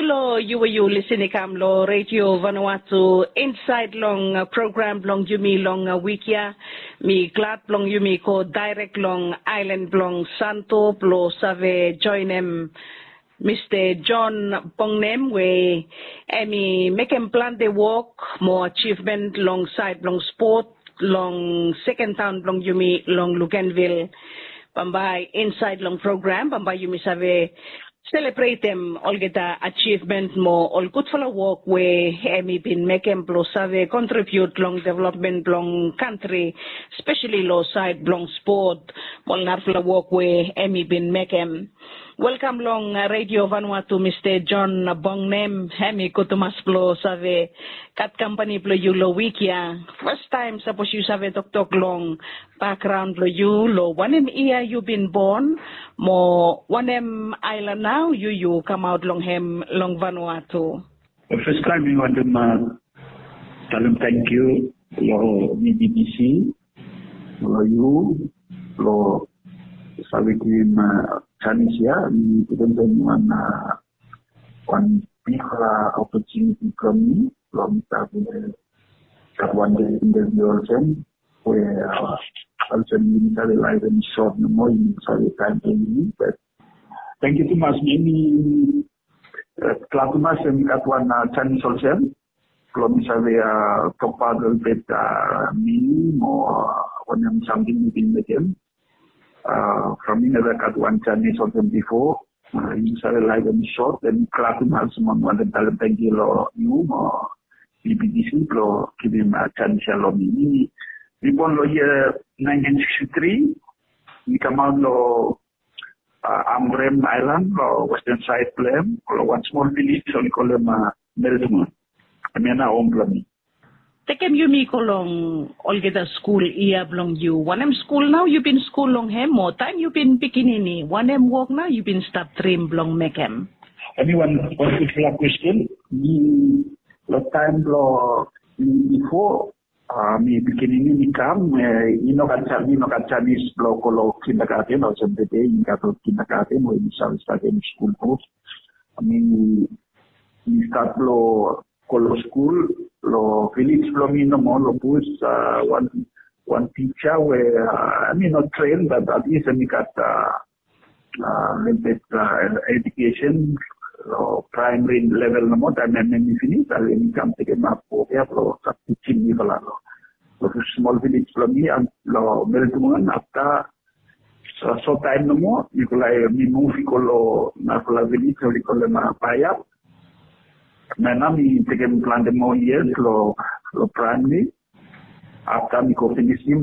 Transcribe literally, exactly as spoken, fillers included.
Halo, yu we yu lisin i kam long Redio Vanuatu insaed long program blong yumi long wik ya. Mi glad blong yumi go daerek long aelan blong Santo blong save joenem Mista John Bongnem we hem i mekem plante wok mo ajivmen long saed blong spot long seken taon blong yumi long Luganvil. Bambae insaed long program bambae yumi save selebretem olgeta ajivmen mo ol gudfala wok we hem i bin mekem blong save kontribiut long developmen blong kantri, spesali long saed blong spot mo ol narafala wok we hem i bin mekem. Welkam long Redio Vanuatu, Mista John Bongnem. Hem i gud tumas blong save gat kampani blong yu long wik ya. Fastaem sapos yu save toktok long bakgraon blong yu, long wanem yia yu bin bon mo wanem aelan nao yu yu kamaot long hem long Vanuatu? Fastaem mi wantem talem tangkiu long B B C, long yu, long save givim janis ya. Mi putum wan wan bigfala opotuniti blong mi blong mi save gat wan dei interviu olsem we olsem yumi save laetem sot nomo, yumi save taem blong yumi. Bat tangkiu tumas. Mi glad tumas we mi gat wan janis olsem blong mi save tokbaot olgeta mi mo wanem samting mi bin mekem. From mi neva gat wan janis olsem bifo. Yu save laetem sot, mi glad tumas mo mi wantem talem tangkiu long yu mo B B C blong givim janis ya long mi. Mi bon long yia naentin siksti tri. Mi kamaot long Ambrym aelan long westan saed blong hem, long wan smol vilej oli kolem Meltongan. Hemia nao hom blong mi. Tekem yumi go long olgeta skul yia blong yu. Wanem skul nao yu bin skul long hem, o taem yu bin pikinini wanem wok nao yu bin stap drim blong mekem? Hemi wan gudfala kwesten. Mi long taem blong mi bifo mi pikinini mi kam, i no gat janis blong go long kindagaten olsem tede i gat ol kindagaten we yumi save statem skul go. Mi mi stat blong go long skul long vilej blong mi nomo long bus. Wan wan tija we hemi no tren bat atlis hemi gat lelebet ejukesen long praemari level nomo. Taem hemi finis, hemi kam tekemap wok ya blong stap tijim mifala long smol vilej blong mi long Meltongan. Afta sot taem nomo mifala mi muv i go long narafala vilej oli kolem Paiap. Na nao mi tekem plante moa yias long praemari. Afta mi go finisim